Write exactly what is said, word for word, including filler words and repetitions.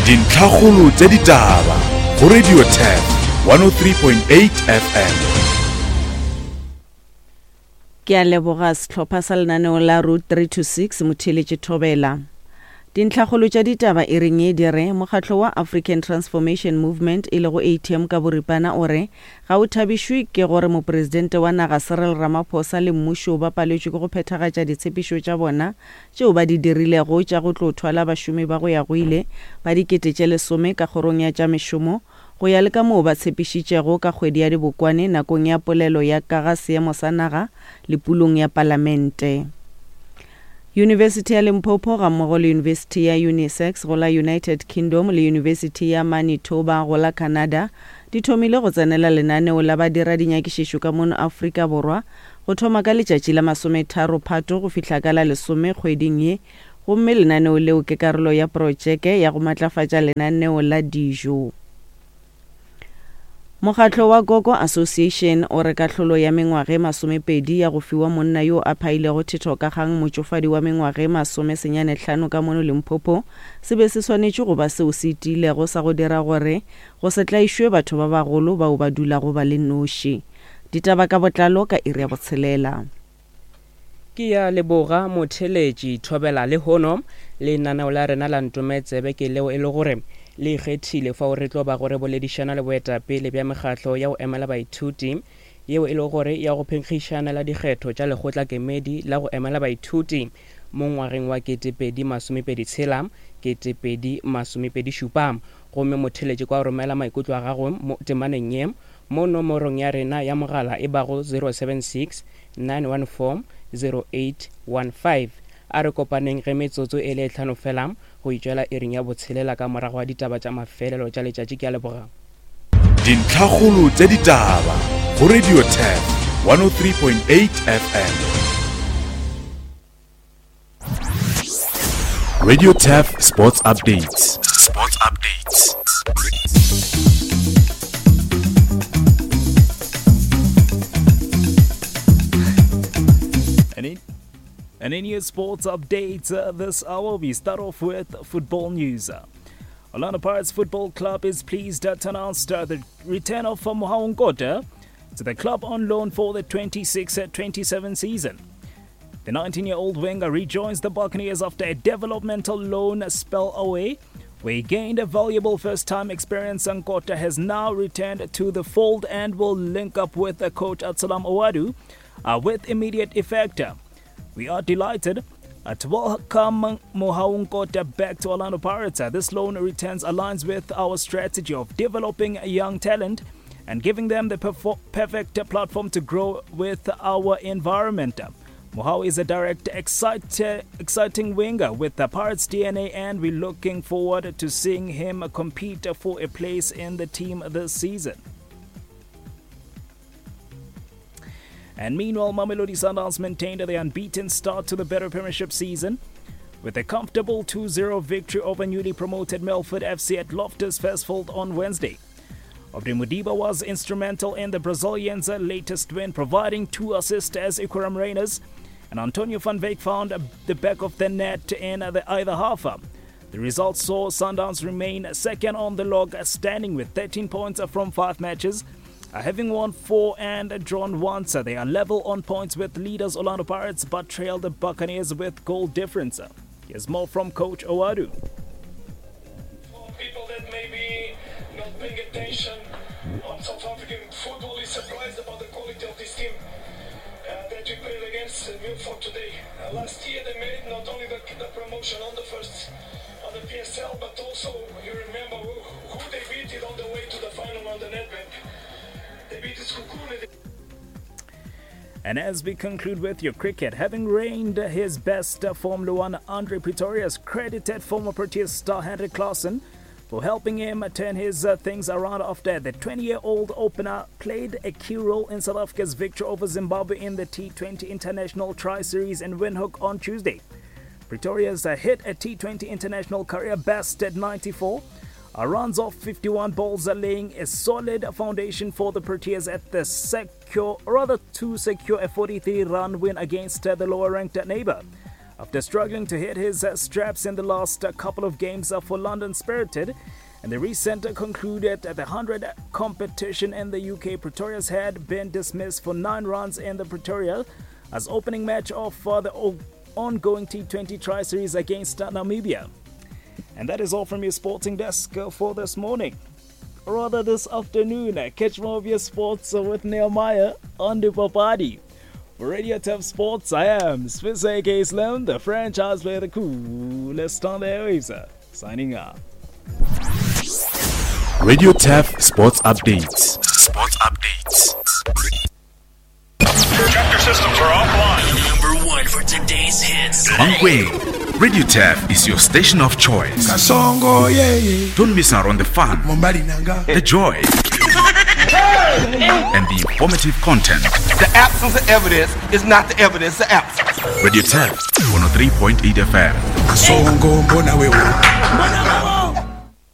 Dintlhakgolo tša ditaba go Radio Turf one oh three point eight F M. Ke a leboga sehlopha sa lenaneo la Route three two six motheeletše Thobela. Dintlhakgolo tša ditaba e reng e di re mokgatlo wa African Transformation Movement e lego A T M ka boripana o re ga o thabišwe ke gore mopresidente wa naga Cyril Ramaphosa le mmušo ba paletšwe ke go phethagatša ditshepišo tša bona tšeo ba di dirilego tša go tlo thwala bašomi ba go ya go ile ba dikete tše lesome ka kgorong ya tša mešomo go ya le ka moo ba tshepišitšego ka kgwedi ya Dibokwane nakong ya polelo ya ka ga seemo sa naga le pulong ya palamente. University ya Limpopo ga mmogo le University ya Unisex go la United Kingdom le University ya Manitoba go la Canada di thomile go tsenela lenaneo la badira dinyakišišo ka mono Afrika Borwa go thoma ka letšatši la masometharo Phato go fihla ka la lesome kgweding ye, gomme lenaneo leo ke karolo ya projeke ya go matlafatša lenaneo la dijo. Mokgatlo wa Gogo Association o re kahlolo ya mengwaga e masomepedi ya go fiwa monna yo a phailego thetho ka kgang motšofadi wa mengwaga e masomesenyane hlano ka mono Limpopo se be se swanetše go ba seo se tiilego sa go dira gore go se tlaišwe batho ba bagolo bao ba dulago ba le noši. Ditaba ka botlalo ka iri ya botshelela. Ke ya leboga motheletši Thobela lehono lenaneo la rena la Ntometsebe ke leo e le gore le ikgethile fao re tlo ba gore boledišana le boetapele bja mekgatlo ya go emela baithuti yeo e le gore ya go phenkgišana la dikgetho tša lekgotla kemedi la go emela baithuti mo ngwageng wa ketepedi masomepedi tshela ketepedi masomepedi šupa. Gomme motheletši kwa romela maikutlo a gago mo temaneng ye mo nomorong ya rena ya mogala e bago zero seven six nine one four zero eight one five. A re kopaneng ge metsotso e le tlhano fela go itšwela iring ya botshelela ka morago ga ditaba tša mafelelo tša letšatši. Ke a leboga. Dintlhakgolo tša ditaba go Radio Turf one oh three point eight F M. Radio Turf Sports Updates. Sports Updates. And in, and in your sports updates uh, this hour, we start off with football news. Orlando Pirates Football Club is pleased to announce uh, the return of Mohau Nkota to the club on loan for the twenty-six twenty-seven season. The nineteen-year-old winger rejoins the Buccaneers after a developmental loan spell away, where he gained a valuable first-time experience. Nkota has now returned to the fold and will link up with the coach Absalom Ouaddou uh, with immediate effect. We are delighted to welcome Mohau Nkota back to Orlando Pirates. This loan returns aligns with our strategy of developing young talent and giving them the perfo- perfect platform to grow with our environment. Mohau is a direct, excite, exciting winger with the Pirates D N A, and we're looking forward to seeing him compete for a place in the team this season. And meanwhile, Mamelodi Sundowns maintained their unbeaten start to the Better Premiership season with a comfortable two zero victory over newly promoted Milford F C at Loftus Versfeld on Wednesday. Aubrey Modiba was instrumental in the Brazilians' latest win, providing two assists as Iqraam Rayners and Antonio van Wyk found the back of the net in the either half. The result saw Sundowns remain second on the log, standing with thirteen points from five matches, having won four and drawn once. They are level on points with leaders Orlando Pirates, but trail the Buccaneers with goal difference. Here's more from Coach Ouaddou. For people that may be not paying attention on South African football is surprised about the quality of this team uh, that we played against Milford today. Uh, last year they made not only the, the promotion on the first on the P S L, but also you remember who, who they beat it on the way to the final on the Nedbank. They beat Sekhukhune. And as we conclude with your cricket, having reigned his best Formula One, Andre Pretorius credited former Proteas star Heinrich Klaasen for helping him turn his, uh, things around after the twenty-year-old opener played a key role in South Africa's victory over Zimbabwe in the T twenty International Tri-Series in Windhoek on Tuesday. Pretorius hit a T twenty International career best at ninety-four, uh, runs off fifty-one balls, laying a solid foundation for the Proteas at the secure, or rather to secure a forty-three run win against, uh, the lower-ranked neighbor. After struggling to hit his straps in the last couple of games for London Spirited, and the recent concluded the one hundred competition in the U K, Pretorius had been dismissed for nine runs in the Pretoria as opening match of the ongoing T twenty Tri-Series against Namibia. And that is all from your sporting desk for this morning. Or rather this afternoon. Catch more of your sports with Nehemiah on the Papadi. For Radio Turf Sports, I am Swiss A K Slim, the franchise player, the coolest on the airwaves. Signing up. Radio Turf Sports Updates. Sports Updates. Chapter systems are offline. Number one for today's hits. Mankweng, Radio Turf is your station of choice. Kasongo, yeah, yeah. Don't miss out on the fun, the joy, and the informative content. The absence of evidence is not the evidence of absence. Radio Turf, one oh three point eight F M. Kasongo, mbona wewe.